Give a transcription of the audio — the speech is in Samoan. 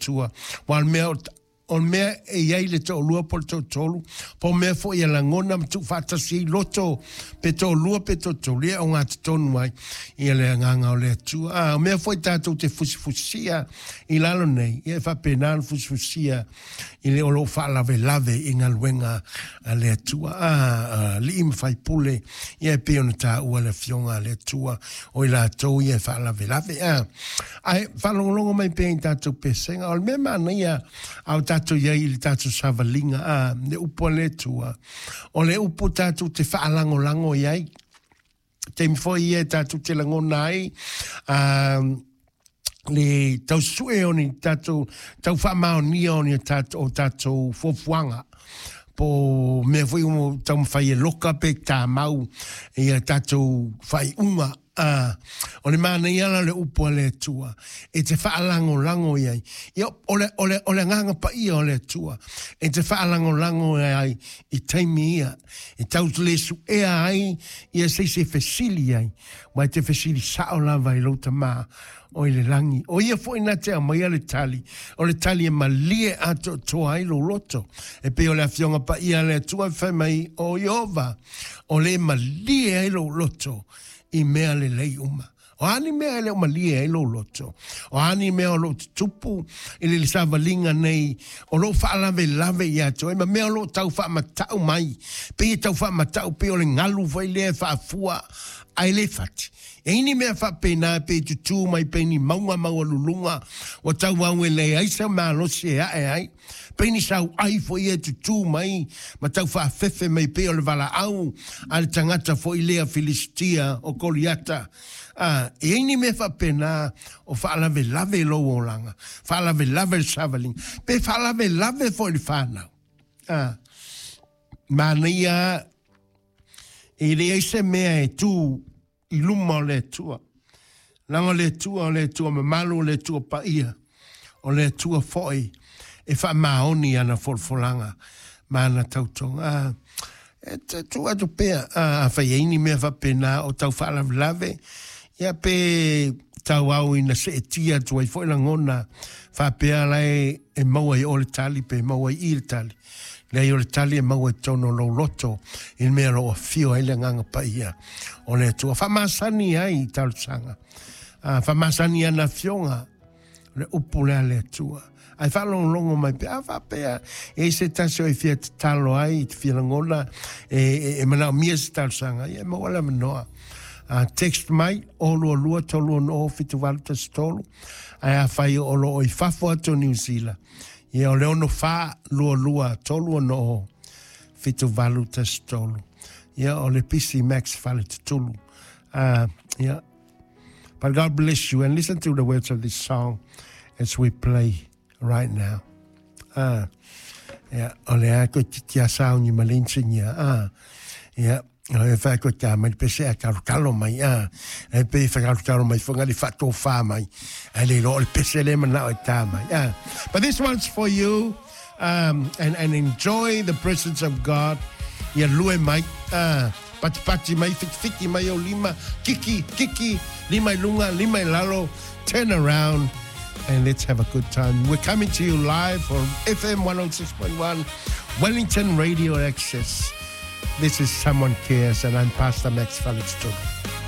Atua. Aua o le mea o le mea e i ai le toalua po o le toatolu, po o mea foi e lagona ma tuufaatasi ai loto pe toalua pe toatolu, ia e ogatotonu ai ia le agaga o le Atua. A o mea foi tatou te fusifusia i lalo nei, ia e faapena ona fusifusia i le o lo o faalavelave i galuega a le Atua. A, alii ma faipule, ia e pei ona taua le Afioga a le Atua, o i latou ia e faalavelave. A, ae faalogologo mai pea i tatou pesega. O le mea manaia a o tatou i ai i le tatou savaliga, a, le upu a le Atua, o le upu tatou te faalagolago i ai. Taimi foi ia e tatou te lagona ai, a, le tau sue o ni tatou tau faamaonia o ni tatou o tatou fuafuaga po o mea foi o taumafai e loka pe tamau ia tatou faaiuga. A, o le manaia la o le upu a le Atua e te faalagolago i ai. Ia, o le, o le, o le agaga paia o le Atua e te faalagolago ai i taimi ia e tau le suea ai ia se isi e fesili ai. Aua e te fesili sao lava i lou Tama o i le lagi. O ia foi na te aumaia le tali, o le tali e malie atoatoa ai lou loto. E pei o le Afioga Paia a le Atua e fai mai, O Ieova, o le e malie ai lou loto i mea lelei uma. O a ni mea e le o malie ai lou loto? O a ni mea o lo o tutupu i le savaliga nei o lo o faalavelave ia te oe ma mea o lo o tau faamatau mai, pei e tau faamatau pei o le galu foi lea e faafua ae le fati. E i ai ni mea faapena e pei e tutū mai pei ni mauga maualuluga ua tauau e leai se malosi e ae ai, pei ni sauai foi ia e tutū mai ma tau faafefe mai pei o le valaau a le tagata foi lea Filisitia o Koliata. A, e i ai ni mea faapena o faalavelave i lou olaga, faalavelave le savaliga, pe faalavelave foi le fanau. A, manaia e leai se mea e tū i luma o le Atua. Leaga o le Atua, o le Atua mamalu, o le Atua paia, o le Atua foi e faamaoni ana folafolaga ma ana tautoga. A, e tuu atu pea, a, afai e i ai ni mea faapena o tau faalavelave, ia pe tauau ina seetia atu ai foi lagona faapea la e, e maua i o le tali pe maua i i le tali. Leai o le tali e maua i totonu o lou loto i le mea o lo o afio ai le Agaga Paia o le Atua. Faamasani ai i talosaga. A, faamasani i ana afioga le upu lea a le Atua. Ae faalogologo mai pea, a faapea, e i ai se tasi o e fia tatalo ai, te fia lagona, e, e, e manaomia se talosaga, ia e maua le avanoa. A, text mai, 022 360 7813, ae afai o lo o i fafo atu o Niu Sila, ia o le 64 22 360 7813. Ia o le PC Max Faletutulu. Yeah. But God bless you and listen to the words of this song as we play right now. Yeah, o le a koe titi a sauni ma lensinia. Yeah. O e whai koe tā mai pese a kalo kalo mai. E pe whai kalo kalo mai whanga li whato wha mai. A le ro le pese le mana o tā mai. But this one's for you. Um, and, and enjoy the presence of God. Ia lue mai. Patipati mai, whitiwhiti mai o lima, kiki, kiki, lima i lunga, lima i lalo, turn around and let's have a good time. We're coming to you live from FM 106.1 Wellington Radio Access. This is Someone Cares and I'm Pastor Max Felix Turi.